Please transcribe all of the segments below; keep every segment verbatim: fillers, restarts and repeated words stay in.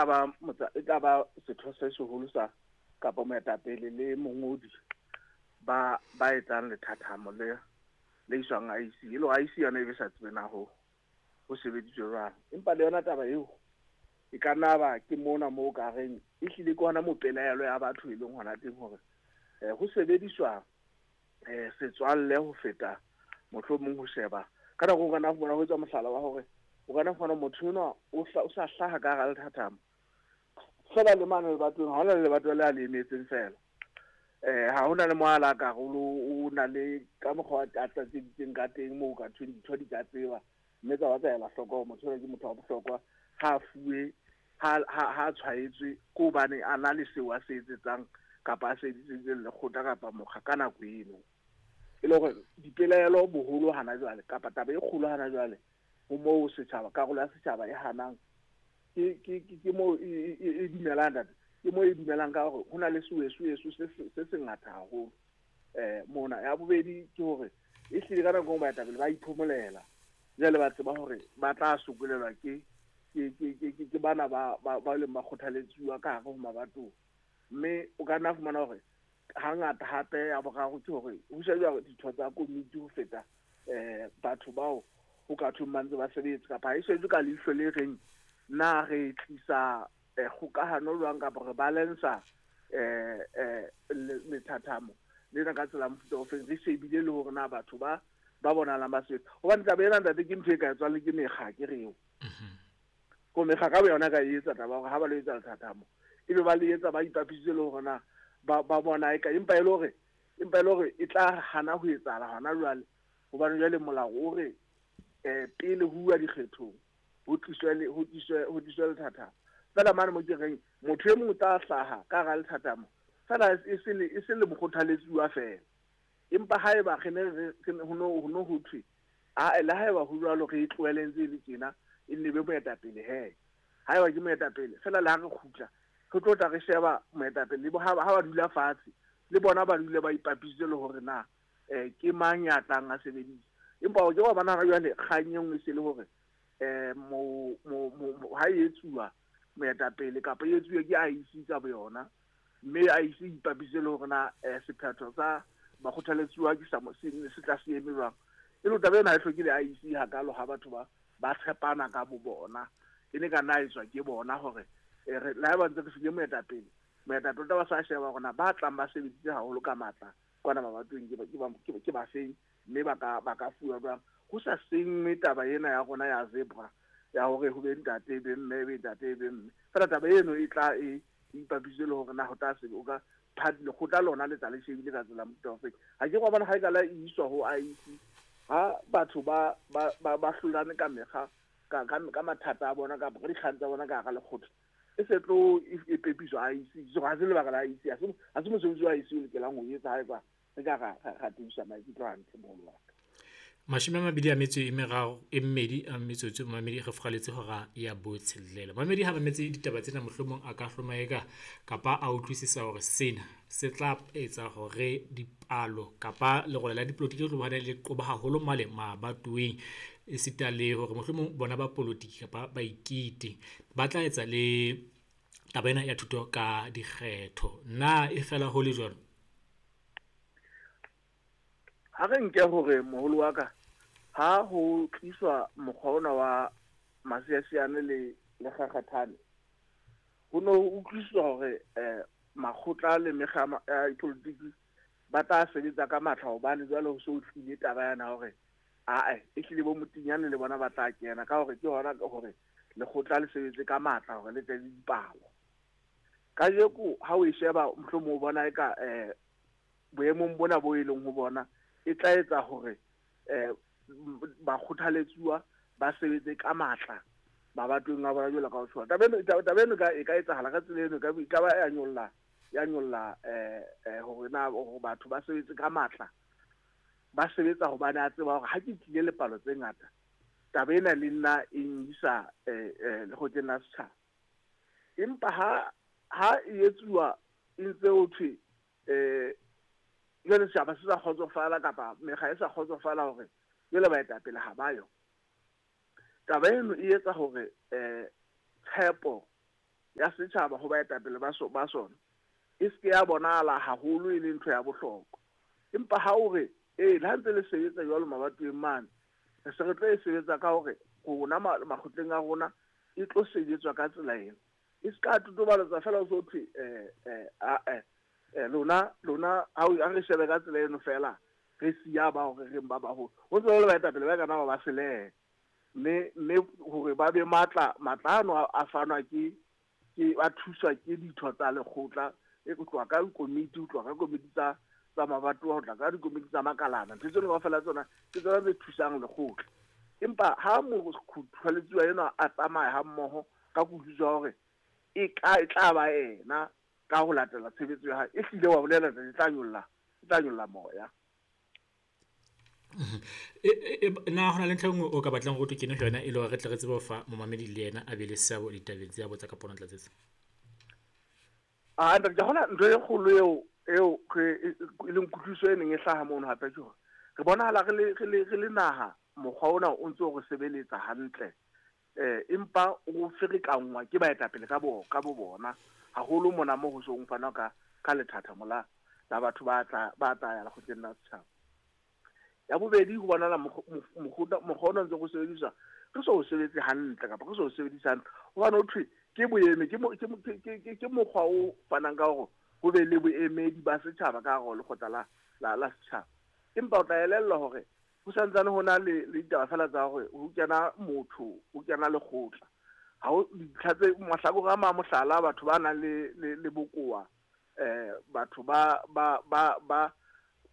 Ba e tla ba setho se seholo sa kapa moetapele le mongodi ba ba etsang lethathamo le le iswang I E C. E le I E C yona e be sa tsebe na ho ho sebeditswe jwang. Empa le yona taba eo e ka nna ba ke mona moo ka reng e hlile ke hona mo pelaelo ya batho e leng hona teng hore eh ho sebediswa eh setswalle ho feta mohlomong ho sheba. Ka nako o kana bona ho etsa mohlala wa hore o kana fona motho enwa o sa hlaha ka hara lethathamo. Fela le mane lebatong ha hona le lebato le a le emetseng fela. Eh ha hona le moala karolo o na le ka mokgwa a tlatseditseng ka teng moo ka thweng ditho di ka tseba mme tsa ba tsa ela hloko hore motho ke motho wa bohlokwa ha fuwe ha ha tshwaetswe ke hobane a na le seo a se etsetsang kapa a se etseditseng lekgotla kapa mokga ka nako eno. E le hore dipelaelo boholo hana jwale kapa taba e kgolo hana jwale ho moo setjhaba karolo ya setjhaba e hanang ke ke ke mo e dumelang ntate ke mo e dumelang ka hore hona le suesuesu se se se ngata haholo eh mona. Ya bobedi ke hore e hlile ka nako baetapele ba iphomolela jwale ba tseba hore ba tla sokolelwa ke ke ke ke ke bana ba ba leng ba kgothaletsuwa ka hare ho mabatong. Mme o ka nna fumana hore hangata hape ya boraro ke hore ho shejwa ditho tsa komiti ho feta eh batho bao ho ka thweng ba ntse ba sebetsa kapa e shejwe ka leihlo le reng na re tlisa kgokahano jwang kapa re balansa eh eh lethathamo lena ka tsela mofuta o feng re shebile le hore na batho ba ba bonalang ba sebetsa. Hobane taba ena ntate ke ntho e ka etswang le ke mekga ke reo ko mekga ka boyona ka e etsa taba hore ha ba lo etsa lethathamo ebe ba le etsa ba ipapisitse le hore na ba ba bona e ka empa e le hore empa e le hore e tla hana ho etsahala hona jwale hobane jwale molao o re eh pele ho uwa dikgethong ho tliswe le ho tliswe ho tliswe lethathamo. Fela mane mo ke reng motho e mong o tla hlaha ka hara lethathamo fela e se le e se le mokgothaletsuwa fela. Empa haeba re ne re ho no ho no ho thwe a le haeba ho jwalo re e tlohele ntse le tjena e nne be moetapele he haeba ke moetapele fela le ha re kgutla re tlo tla re sheba moetapele le ha ba dula fatshe le bona ba dule ba ipapisitse le hore na eh ke mang ya tlang a sebedisa. Empa o ke wa bona jwale kgang e nngwe se le hore eh mo mo ha e etsuwa moetapele kapa e etsuwe ke I E C ka boyona mme I E C ipapisitse le hore na sephetho sa bakgothaletsuwa ke sa se tla se eme jwang. E le taba ena ha e hloke le I E C hakalo ha batho ba ba tshepana ka bo bona e ne ka nna etswa ke bona hore re la ba ntse re file moetapele moetapele taba sa sheba hore na ba tlang ba sebeditse haholo ka matla kwana mabatong ke ba ke ba feng mme ba ka ba ka fuwa jwang ho sa sengwe taba ena ya rona ya zebra ya hore ho be ntate be mme be ntate be mme fela taba eno e tla e ipapisitse le hore na ho tla se o ka lekgotla lona le tla le shebile ka tsela mofuta o feng. Ha ke wa bona ha e ka la iswa ho I E C ha batho ba ba ba hlolane ka mekga ka ka mathata a bona kapa ka dikgang tsa bona ka hara lekgotla e se tlo e pepiswa I E C. So ha se lebaka la I E C, ha se ha se mosebetsi wa I E C o lokelang ho etsa haeba re ka ra ra tiisa maikutlo hantle moholo wa ka. Mashome a mabedi a metso e meraro e mmedi a metsotso mamedi re furaletse hora ya botshelela. Mamedi ha mametse ditaba tsena mohlomong a ka hlomaeka kapa a utlwisisa hore sena se tla etsa hore dipalo kapa lerole la dipolotiki le tlo le qoba haholo male mabatoweng esita le hore mohlomong bona ba polotiki kapa ba ikete ba tla etsa le taba ena ya thuto ka dikgetho. Na e fela ho le jwalo? Ha re nke hore moholo wa ka ha ho tliswa mokgwa ona wa masiasiane le le kgakgathane ho no utlwisiswa hore eh makgotla le mekga ya dipolotiki ba tla sebetsa ka matla hobane jwale ho so tlile taba yana hore ae e hlile bo motinyane le bona ba tla kena ka hore ke hona hore lekgotla le sebetse ka matla hore le tle le dipalo. Kajeko ha o e sheba mohlomong o bona e ka eh boemong bona bo e leng ho bona e tla etsa hore eh ba kgothaletsuwa ba sebetse ka matla mabatong a bona jwalo ka ho tshwana. Taba eno taba eno e ka etsahala ka tsela eno e ka ba ya nyolla ya nyolla eh eh hore na hore batho ba sebetse ka matla ba sebetsa hobane a tseba hore ha ke tlile le palo tse ngata taba ena le nna e ngisa eh eh lekgotleng la setjhaba. Empa ha ha e etsuwa e ntse ho thwe eh jwale setjhaba se sa kgotsofala kapa mekga e sa kgotsofala hore jwale baetapele ha ba yo. Taba eno e etsa hore eh tshepo ya setjhaba ho baetapele ba so ba sona e se ke ya bonahala haholo e le ntho ya bohlokwa. Empa ha o re ee le ha ntse le sebetsa jwalo mabatoweng mane, re se re tlo e sebetsa ka hore rona makgotleng a rona e tlo sebetswa ka tsela ena. E se ka totobaletsa fela o so thwe eh eh a eh lona lona ha re shebe ka tsela eno fela re siya ba hore re ba baholo. Ho ntse le baetapele ba kana ba ba selehe. Mme mme hore ba be matla matla ano a fanwa ke ke ba thuswa ke ditho tsa lekgotla e go tloha ka komiti, ho tloha ka komiti tsa tsa mabatowa, ho tla ka dikomiti tsa makalana. Ntho tseno kaofela tsona ke tsona tse thusang lekgotla. Empa ha mokgothaletsuwa enwa a tsamaya ha mmoho ka kutlwisiso ya hore e ka e tla ba ena ka ho latela tshebetso ya hae, e hlile wa bolela e tla nyolla e tla nyolla moya. Na hona le ntho e nngwe o ka batlang hore o kene ho yona e le hore re tle re tsebe ho fa momamedi le yena a be le seabo ditabeng tse a botsa kapa ona tlatsetsa? Ah, ntate, hona ntho e kgolo eo eo re e leng kutlwisiso e neng e hlaha mono hape ke hore re bonahala re le re le re le naha mokgwa ona o ntse o re sebeletsa hantle, eh empa o ferekanngwa ke baetapele ka bo ka bo bona haholo mona mo ho song fana ka ka lethathamo la la batho ba tla ba tla ya lekgotleng la setjhaba. Ya bobedi, ho bonahala mokgwa mokgwa ona ntse go sebediswa re so o sebetse hantle kapa re so o sebedise hantle hobane ho thwe ke boeme ke ke ke mokgwa o fanang ka hore ho be le boemedi ba setjhaba ka hare ho lekgotla la la la setjhaba. Empa o tla elellwa hore ho santsane ho na le le ditaba fela tsa hore ho kena motho, ho kena lekgotla. Ha ho dintlha tse mahlakore a mang, mohlala, batho ba nang le le le bokowa, eh batho ba ba ba ba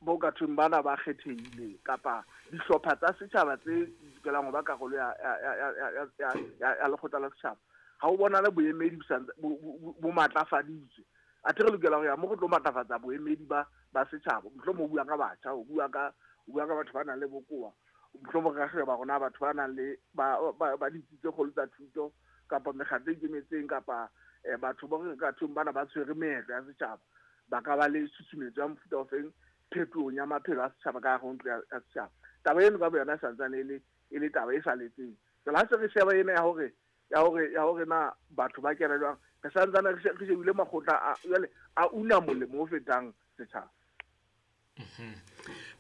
bo ka thweng bana ba kgethehile kapa dihlopha tsa setjhaba tse lokelang ho ba karolo ya ya ya ya ya ya lekgotla la setjhaba. Ha o bonale boemedi bo bo matlafaditswe. Athe re lokela ho ya mo re tlo matlafatsa boemedi ba ba setjhaba. Mohlomong o bua ka batjha, o bua ka o bua ka batho ba nang le bokowa, mohlomong re ka sheba rona batho ba nang le ba ba ditsi tse kgolo tsa thuto kapa mekgatlo e ikemetseng kapa batho ba re ka thweng bana ba tshwere meetlo ya setjhaba, ba ka ba le tshusumetso ya mofuta ofeng phetohong ya maphelo a setjhaba ka hare ho ntlo ya setjhaba. Taba eno ka boyona e santsane e le e le taba e saletseng. Jwale ha se re sheba ena ya hore ya hore ya hore na batho ba kena jwang, re santsane re shebile makgotla a jwale a una molemo o fetang setjhaba.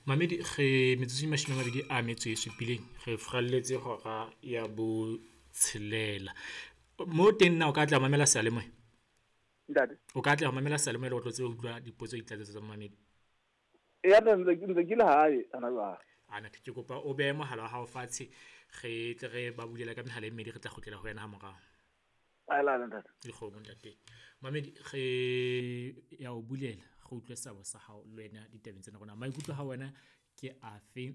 Mamedi, re metsotso e mashome a mabedi a metso e supileng re furalletse hora ya botshelela. Mo teng na o ka tla mamela seyalemoya? Ntate, o ka tla mamela seyalemoya le ho tlo tsebe ho utlwa dipotso di tlatsetso tsa mamedi? Eya, ntse ntse ke le hae hona jwale. Ana ke kopa o behe mohala wa hao fatshe, re tle re ba bulela ka mehala e mmedi, re tla kgutlela ho wena ha morao. Aelana ntate. Dikgomo ntate. Mamedi, re ya o bulela, re utlwe seabo sa hao le wena ditabeng tsena rona. Maikutlo ha wena ke afe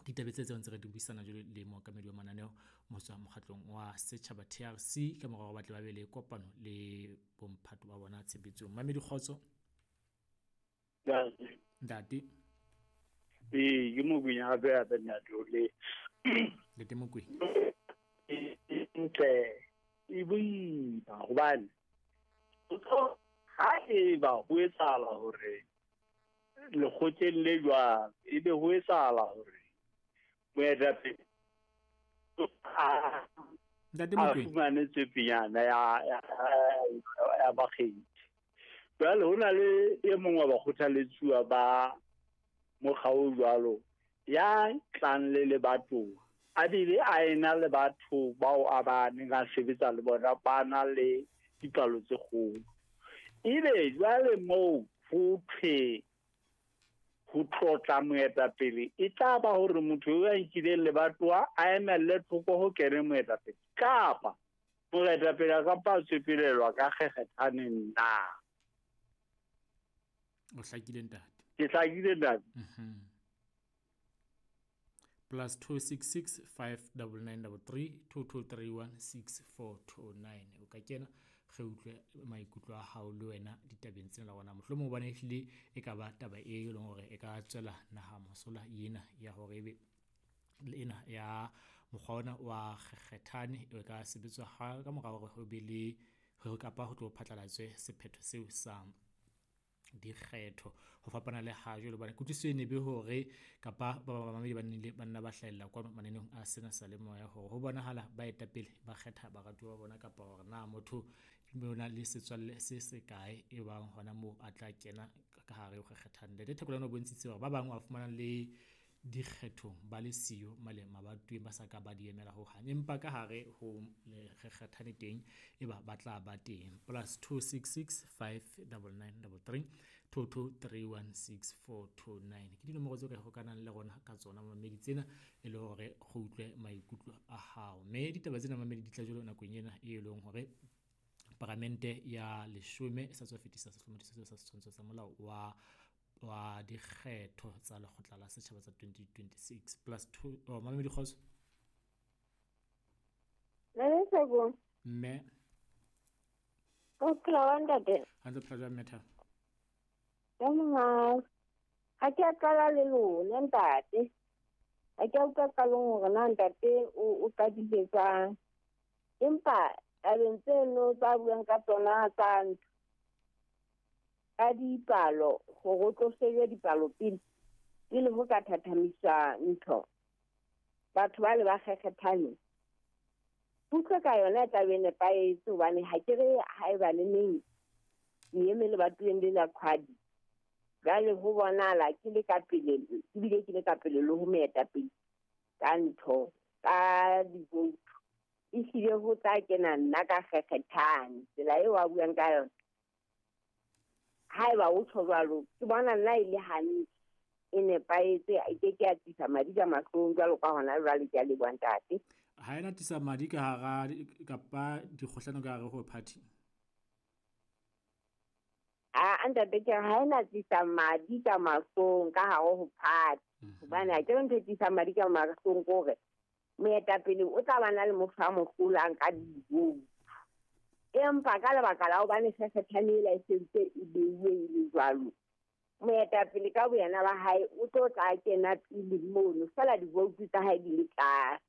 ditabeng tse tseo ntse re di buisana jwale le mookamedi wa mananeo motswa mokgatlong wa setjhaba T R C ka mora hore ba tle ba be le kopano le bomphato ba bona tshebetsong. Mamedi, kgotso. Ntate. Ee, ke Mokwena hape hape ntate o le. Ntate Mokwena. Ntle e boima hobane ha eba ho etsahala hore lekgotleng le jwang ebe ho etsahala hore moetapele Ntate a Mokwena fumane tsepinyana ya ya ya bakgethi. Jwale ho na le e mong wa bakgothaletsuwa ba mokga o jwalo ya tlang le lebatowa, a bile a ena le batho bao a ba neng a sebetsa le bona ba na le dipalo tse kgolo. Ebe jwale moo ho thwe ho tlotla moetapele e tla ba hore motho eo a nkileng lebatowa a emelle thoko ho kene moetapele, kapa moetapele a ka mpa a tswepelelwa ka kgekgethaneng na? O hlakile ntate. Ke hlakile ntate. Mhm. Plus two six six five double nine double three two two three one six four two nine. O ka kena re utlwe maikutlo a hao le wena ditabeng tsena la rona. Mohlomong hobane ehlile e ka ba taba e leng hore e ka tswela naha mosola ena ya hore ebe le ena ya mokgwa ona wa kgekgethane e ka sebetswa ha ka mora hore ho be le hore kapa ho tlo phatlalatswe sephetho seo sa dikgetho ho fapana le ha jwale hobane kutlwisiso e ne be hore kapa ba bamamedi ba nnile ba nna ba hlahella kwano mananeng a sena sa le moya hore ho bonahala baetapele ba kgetha baratuwa ba bona kapa hore na motho o na le setswalle se se kae e bang hona moo a tla kena ka hare ho kgethang. Ntate Thekolane o bontshitse hore ba bang wa fumana le dikgethong ba le siyo male mabatoweng ba sa ka ba di emela hohang, empa ka hare ho kgethane teng e ba ba tla ba teng. Plus two six six five double nine double three two two three one six four two nine ke dinomoro tseo ka hokanang le rona ka tsona mamedi tsena e le hore go utlwe maikutlo a hao. Mme ditaba tsena mamedi di tla jwalo nakong ena e leng hore paramente ya leshome e sa tswa fetisa sehlomathiso sa setshwantsho sa molao wa wa dikgetho tsa lekgotla la setjhaba tsa twenty twenty-six. Plus two oh mamedi kgotso mme o phela wa ntate hantle phela jwang metha ya monga ha ke a qala le lona ntate ha ke a utlwa qalong hore na ntate o o qadile jwang, empa tabeng tseno tsa buang ka tsona tsa ntho ka dipalo hore o tlo shebe dipalo pele pele ho ka thathamisa ntho batho ba le ba kgekgethane utlwe ka yona taba e nepahetse hobane ha ke re haeba le neng ke eme lebatoweng le la Qwadi jwale ho bonahala ke le ka pele ebile ke le ka pele le ho moetapele ka ntho ka divoutu ehlile ho tla kena nna ka kgekgethane tsela eo a buang ka yona. Haeba o tjho jwalo ke bona nna e le hantle e nepahetse e ke ke ya tlisa madi ka mahlong jwalo ka hona jwale ke a leboha ntate. Ha ena tlisa madi ka hara kapa dikgohlano ka hare ho party? A ntate ke ha ena tlisa madi ka mahlong ka hare ho party hobane ha ke re ntho e tlisang madi ka mahlong ke hore moetapele o tla ba na le motho a mo hlolang ka divoutu, empa ka lebaka la hobane kgekgethane ela e sentse e beuwe e le jwalo moetapele ka boyena ba hae o tlo tla kena pele mono fela divoutu tsa hae di le tlase.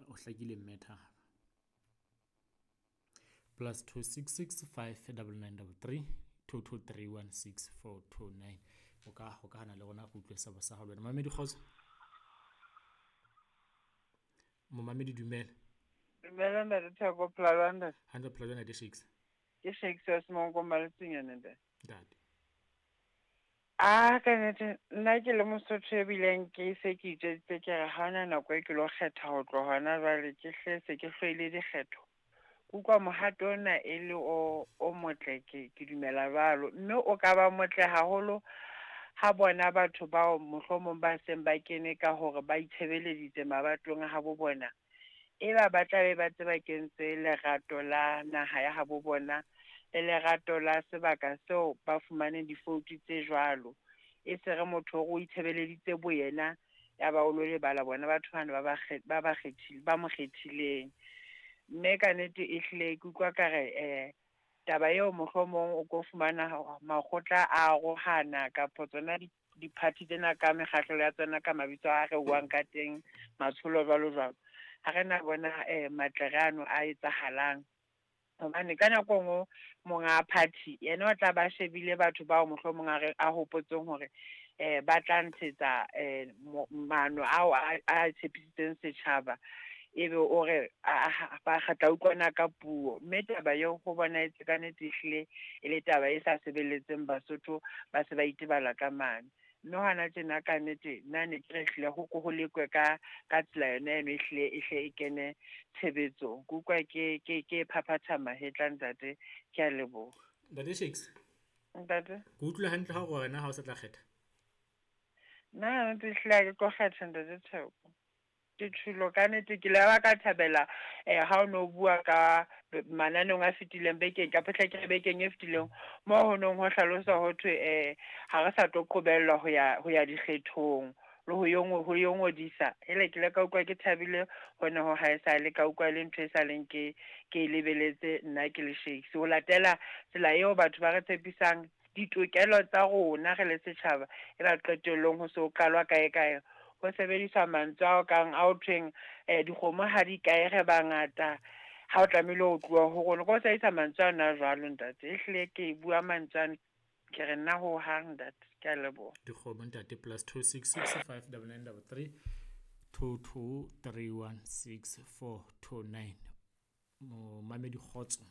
O hlakile mme thaba. Plus two six six five double nine double three two two three one six four two nine o ka hokahana le rona go utlwe sebo sa hao le wena. Mamedi kgotso. Momamedi dumela. Dumela ntate Theko phela ntate. Hantle phela jwang ntate Shakes? Ke Shakes wa Semonko Maletseng ntate. Ntate. Ah ka nnete nna ke le Mosotho ebileng ke se ke itjweditse ke re ha hona nako e ke lo kgetha ho tloha hona jwale ke hle se ke hloile dikgetho. Ke utlwa mohato ona e le o o motle ke ke dumela jwalo mme o ka ba motle haholo ha bona batho bao mohlomong ba seng ba kene ka hore ba itshebeleditse mabatong a habo bona e ba ba tla be ba tseba kentse lerato la naha ya habo bona le lerato la sebaka seo ba fumaneng difoutu tse jwalo e se re motho o itshebeleditse boyena ya ba o lo lebala bona batho bana ba ba ba ba kgethile ba mo kgethileng mme ka nnete e hlile ke utlwa ka re eh taba eo mohlomong o ko fumana makgotla a arohana kapa tsona di-party tsena ka mekgahlelo ya tsona ka mabitso a re buang ka teng matsholo jwalo jwalo ha re na bona eh matlere ano a etsahalang hobane ka nako e nngwe monga party yena o tla ba shebile batho bao mohlomong a re a hopotseng hore eh ba tla ntshetsa eh maano ao a tshepisitseng setjhaba ebe o re ba kgatla utlwana ka puo mme taba eo ho bona etse ka nnete ehlile e le taba e sa sebeletseng Basotho ba se ba itebala ka mane mme hona tjena ka nnete nna ne ke re ehlile ho ko ho lekwe ka ka tsela yona eno ehlile e hle e kene tshebetsong ke utlwa ke ke ke phaphatha mahetla ntate ke a leboha. Ntate Shakes ntate ke utlwile hantle ha o re wena ha o sa tla kgetha nna nnete ehlile ha ke tlo kgetha ntate Theko ke tshilo ka nnete ke la ba ka thabela eh ha o no bua ka mananeong a fetileng bekeng ka phehla ke re bekeng e fetileng mo ho nong ho hlalosa ho thwe eh ha re sa tlo qobellwa ho ya ho ya dikgethong le ho yo ho yo ngodisa hele ke le ka utlwa ke thabile hona ho ha e sa le ka utlwa le ntho e sa leng ke ke lebeletse nna ke le Shakes ho latela tsela eo batho ba re tshepisang ditokelo tsa rona re le setjhaba e ba qetellong ho so qalwa kae kae ho sebediswa mantswe ao kang a o thweng eh dikgomo ha di kae re bangata ha o tlamehile ho tloha ho rona ko sebedisa mantswe ana jwalo ntate ehlile ke bua mantswe ana Ke re nna ho hang ntate, ke a leboha. Dikgomo ntate plus two six six five double nine double three two two three one six four two nine. Momamedi kgotso.